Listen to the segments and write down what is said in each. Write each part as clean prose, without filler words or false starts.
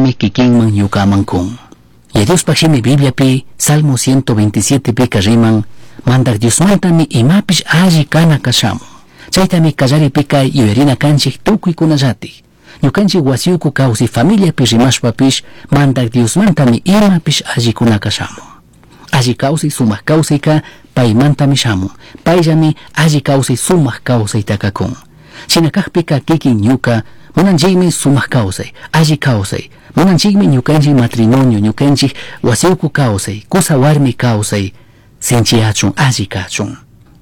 Chaytami kikinman ñukaman kun. Yaya Diospaj shimi Bibliapi Salmo 127 pika riman, Mandaj Diosmantami imapish alli kana kashamun. Chaytami kallaripika yuyarina kanchik tukuykunallatik. Ñukanchik wasiuku kawsay familiapi rimashpapish Mandaj Diosmantami imapish allikunaka shamun. Alli kawsay sumak kawsayka paymantami shamun. Payllami alli kawsay sumak kawsaytaka kun. Shina kakpika kikin ñuka munanchikmi sumak kawsay, alli kawsay. Munanchikmi ñukanchik matrimonio, ñukanchik wasiuku kawsay, kusa warmi kawsay, sinchiyachun, alli kachun.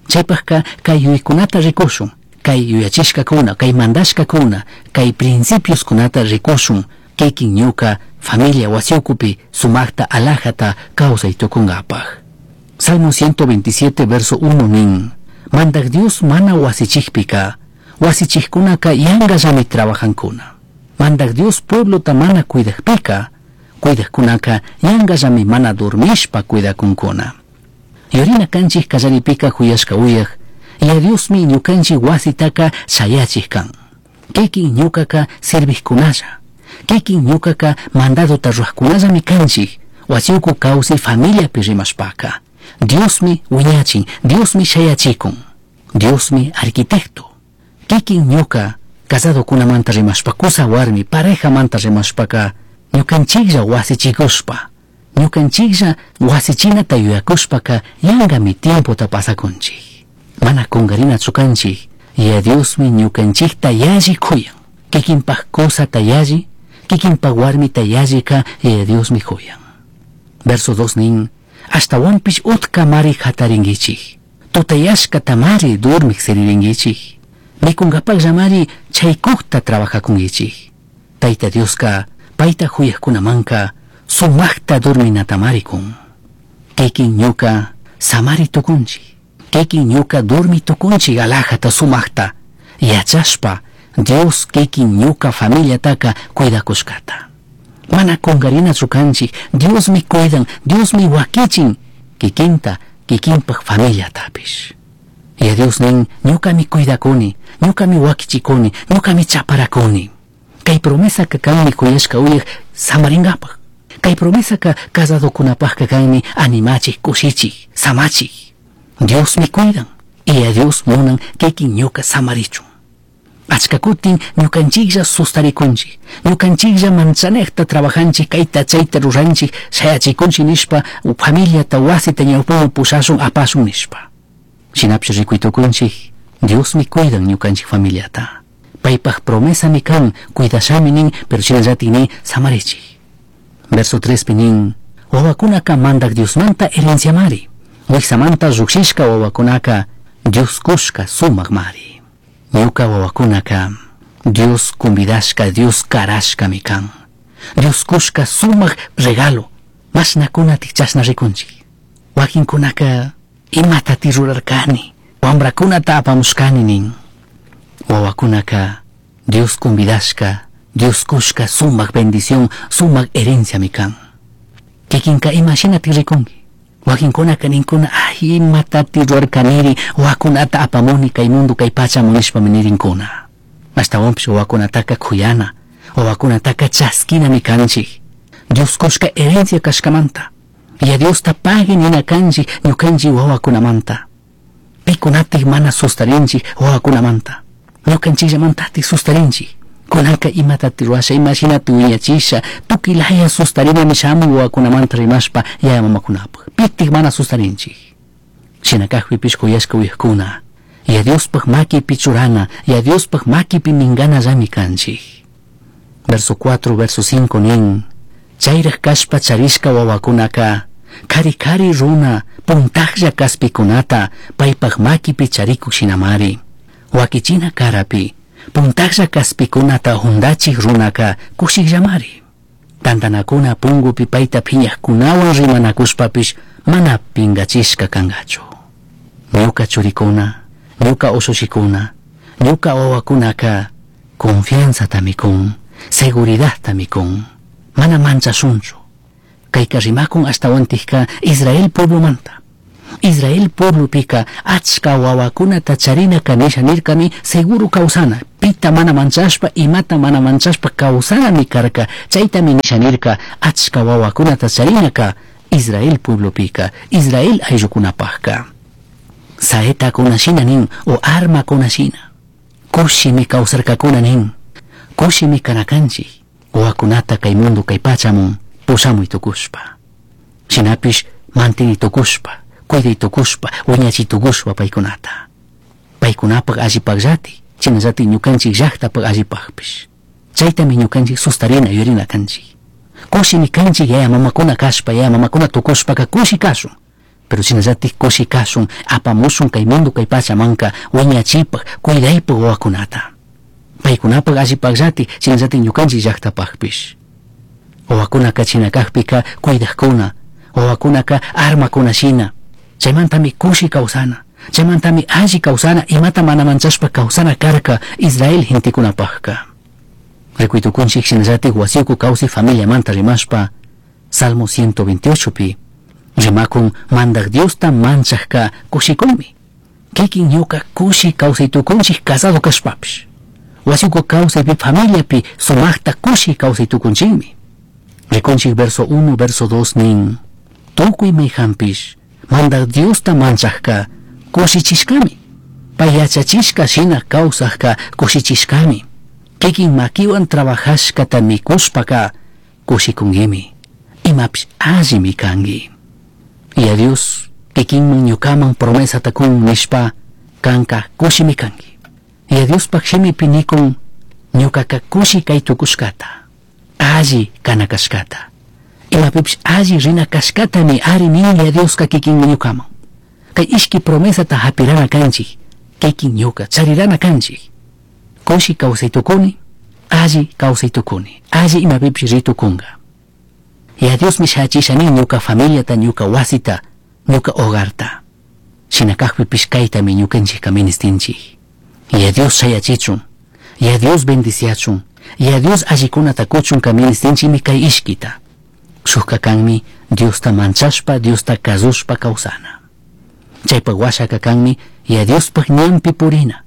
Chaypajka kay yuyaykunata rikushun, kay yuyachishkakuna, kay mandashkakuna, kay principioskunata rikushun, kikin ñuka familia wasiukupi sumakta alajata kawsay tukunkapaj. Salmo 127 verso 1 nin, Mandaj Dios mana wasichikpika, wasichikkunaka yangallami trabajankuna. Mandaj Dios pueblota mana cuidajpika, cuidajkunaka yangallami mana dormishpa cuidakunkuna. Yurina kanchik kallaripika huyashka uyaj, Yaya Diosmi ñukanchik wasitaka shayachik kan. Kikin ñukaka servijkunalla, kikin ñukaka mandadota ruwajkunallami kanchik, wasiuku kawsay familiapi rimashpaka. Diosmi wiñachin, Diosmi shayachikun, Diosmi arquitecto. Kikin ñuka casadokunamanta rimashpa, kusa warmi parejamanta rimashpaka, ñukanchiklla wasichikushpa, ñukanchiklla wasichinata yuyakushpaka yangami tiempota pasakunchik. Mana kungarinachu kanchik, Yaya Diosmi ñukanchikta yalli kuyan. Kikinpaj kusata yalli, kikinpaj warmita yallika Yaya Diosmi kuyan. Verso 2 nin, Ashtawanpish utkamari hatarinkichik, tutayashkatamari dormik siririnkichik, mikunkapajllamari chaykukta trabajakunkichik. Tayta Dioska payta huyajkunamanka sumakta dorminatamari kun. Kikin ñuka samari tukunchik, kikin ñuka dormi tukunchik alajata sumakta, yachashpa Dios kikin ñuka familiataka cuidakushkata. Mana kungarinachu kanchik, Diosmi cuidan, Diosmi wakichin, kikinta, kikinpaj familiatapish. Yaya Dios nin, ñukami cuidakuni, ñukami wakichikuni, ñukami chaparakuni. Kay promesaka kanmi kuyashka uyaj samaringapaj. Kay promesaka casadokunapajka kanmi animachik, kushichik, samachik. Diosmi cuidan, y a Dios munan kikin ñuka samarichun. Achka kutin ñukanchiklla sustarikunchik, ñukanchiklla manchanejta trabajanchik, kayta chayta ruranchik, shayachikunchik nishpa, familiata wasita ñawpaman pushashun apashun nishpa. Shinapish rikuytukunchik, Diosmi cuidan ñukanchik familiata. Paypaj promesami kan, cuidashami nin, pero shinallatik nin samarichik. Verso 3 pi nin, wawakunaka Mandaj Diosmanta herenciamari, wiksamanta llukshishka wawakunaka Dios kushka sumakmari. Ñuka wawakunaka Dios convidashka, Dios karashkami kan. Dios kushka sumak regalo, mashnakunatik chashna rikunchik. Wakinkunaka imatati rurarkani, wambrakunata apamushkani nin. Wawakunaka Dios convidashka, Dios kushka sumak bendición, sumak herenciami kan. Kikinka imashinati rikunki. Wakinkunaka ninkuna, ay, imatati rurarkaniri, wawakunata apamuni kay mundo kay pachamu nishpami nirinkuna. Ashtawanpish wawakunataka kuyana, wawakunataka chaskinami kanchik. Dios kushka herencia kashkamanta. Yaya Diosta pagui nina kanchik ñukanchik wawakunamanta. Pikunatik mana sustarinchik wawakunamanta. Ñukanchikllamantatik sustarinchik. Kunanka imatati ruwasha, imashinati wiñachisha, tukuy laya sustarinami shamun wawakunamanta rimashpa yaya mamakunapaj. Pitik mana sustarinchik. Shina kajpipish kuyashka uyajkuna, Yaya Diospaj makipi churana, Yaya Diospaj makipi minganallami kanchik. Verso 4, verso 5 nin, chayraj kashpa charishka wawakunaka, kari kari runa puntajlla kaspikunata paypaj makipi charikuk shinamari. Wakichina karapi, puntajlla kaspikunata hundachik runaka kushikllamari. Tantanakuna pungupi payta phiñajkunawan rimanakushpapish mana pingachishka kangachu. Ñuka churikuna, ñuka ushushikuna, ñuka wawakunaka confianzatami kun, seguridadtami kun, mana manchashunchu. Kayka rimakun ashtawantikka Israel pueblomanta. Israel pueblopika achka wawakunata charinaka nisha nirkami seguro kawsana, pita mana manchashpa, imata mana manchashpa kawsanami karka. Chaytami nisha nirka achka wawakunata charinaka Israel pueblopika, Israel ayllukunapajka. Saetakuna shina nin o armakuna shina. Kushimi kawsarkakuna nin. Kushimi kanakanchik wawakunata kay mundo kay pachamun pushamuy tukushpa. Shinapish mantini tukushpa, cuiday tukushpa, wiñachi tukushpa paykunata. Paykunapak allipakllati, shinallati ñukanchik llaktapak allipakpish. Chaytami ñukanchik sustarina yuyarina kanchik. Kushimi kanchik yaya mamakuna kashpa, yaya mamakuna tukushpaka kushi kashun. Pero shinallatik kushi kashun, apamushun kay mundo kay pachamanka wiñachipak, cuidaypak wawakunata. Paykunapak allipakllati, shinallatik ñukanchik llaktapakpish. Wawakunaka china kakpika cuidajkuna, wawakunaka armakuna shina. Chaymantami kushi kawsana, chaymantami alli kawsana, imata mana manchashpa kawsana karka Israel gentekunapajka. Rikuytukunchik shinallatik wasiuku kawsay familiamanta rimashpa, Salmo 128 pi rimakun Mandaj Diosta manchajka kushikunmi. Kikin ñuka kushi kawsaytukunchik casado kashpapish. Wasiuku kawsaypi familiapi sumaqta kushi kawsaytukunchikmi. Rikunchik verso 1, verso 2 nin, tukuy mayhanpish Mandaj Diosta manchajka kushichishkami. Pay yachachishka shina kawsajka kushichishkami. Kikin makiwan trabajashkata mikushpaka kushikunkimi. Imapish allimi kanki. Y a Dios kikinman ñukaman promesata kun nishpa kanka kushimi kanki. Y a Diospak shimipi nikun ñukaka kushi kay tukushkata, alli kana kashkata. Imapipish alli rina kashkatami ari nin ya Dioska kikinman ñukaman. Kay ishki promesata hapirana kanchik, kikin ñuka charirana kanchik. Kushi kawsay tukuni, alli kawsay tukuni, alli imapipish ritukunga. Ya Diosmi shachisha nin ñuka familiata, ñuka wasita, ñuka hogarta. Shina kakpipish kaytami ñukanchikka ministinchik. Ya Dios shayachichun, ya Dios bendiciachun, ya Dios allikunata kuchunka ministinchikmi kay ishkita. Shukka kanmi Diosta manchashpa, Diosta kazushpa kawsana. Chaypak washaka kanmi ya Diospaj ñanpi purina.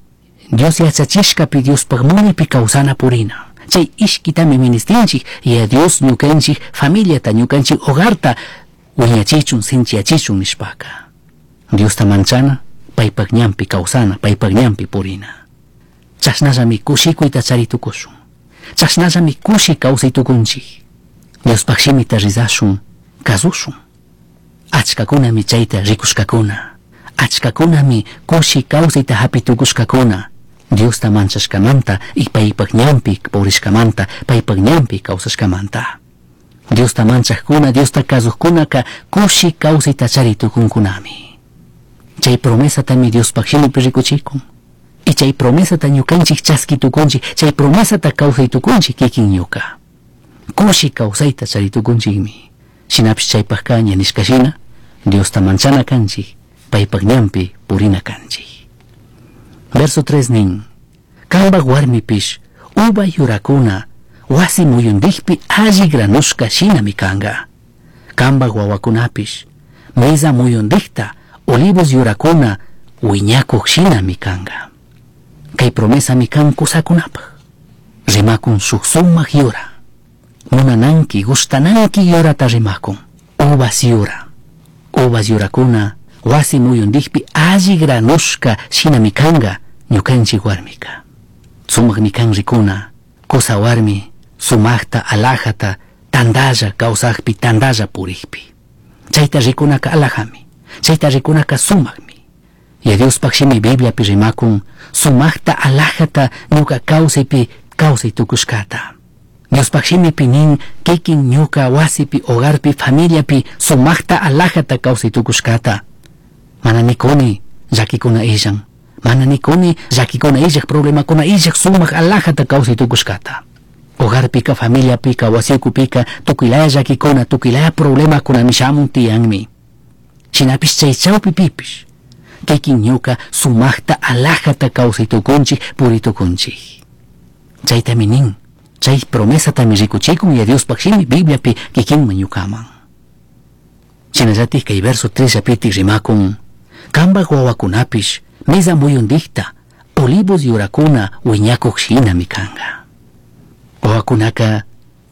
Dios yachachishkapi Diospaj munipi kawsana purina. Chay ishkitami ministinchik, ya Dios ñukanchik familiata, ñukanchik hogarta wiñachichun, sinchiyachichun nishpaka. Diosta manchana, paypak ñanpi kawsana, paypak ñanpi purina. Chashnallami kushikuyta charitukushun. Chashnallami kushi kawsaytukunchik. Diospaj shimita rizashun, kazushun. Achkakunami chayta rikushkakuna. Achkakunami kushi kawsayta hapitukushkakuna. Diosta manchashkamanta y paypak ñanpi purishkamanta, paypak ñanpi kawsashkamanta. Diosta manchajkuna, Diosta kazujkunaka kushi kawsayta charitukunkunami. Chay promesatami Diospaj shimipi rikuchikun. Y chay promesata ñukanchik chaskitukunchik, chay promesata kawsaytukunchik kikin ñuka. Kushi kawsayta charitukunchikmi. Shinapish chaypajka ña nishka shina, Diosta manchana kanchik, paypak ñanpi purina kanchik. Verso 3 nin, kambak warmipish uva yurakuna wasi muyundikpi alli granushka shinami kanga. Kambak wawakunapish mesa muyundikta olivos yurakuna wiñakuq shinami kanga. Kay promesami kan kusakunapaj. Rimakun shuk sumak yura. Munananki, gustananki yurata rimakun. Uvas yura. Uvas yurakuna wasi muyundikpi alli granushka shinami kanga ñukanchik warmika. Sumakmi kan rikuna, kusa warmi sumakta alajata tandalla kawsakpi tandalla purikpi. Chayta rikunaka alajami, chayta rikunaka sumakmi. Ya Diospaj shimi Bibliapi rimakun sumakta alajata ñuka kawsaypi kawsay tukushkata. Diospaj shimipi nin kikin ñuka wasipi hogarpi familiapi sumakta alajata kawsay tukushkata. Mana nikuni llakikuna illan, mana nikuni llakikuna illak problemakuna illak sumak alajata kawsay tukushkata. Hogarpika, familiapika, wasiukupika tukuylaya llakikuna, tukuylaya problemakunami shamun tiyanmi. Shinapish chay chawpipipish kikin ñuka sumakta alajata kawsay tukunchik puritukunchik. Chaytami nin, chay promesatami rikuchikun ya Diospaj shimi Bibliapi kikinman ñukaman. Shinallatik kay verso 3 llapitik rimakun Cambaj huahuacunapish meza muyundijta olivos yuracuna huiñacuj shinami canga. Huahuacunaca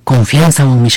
confianzahuanmi.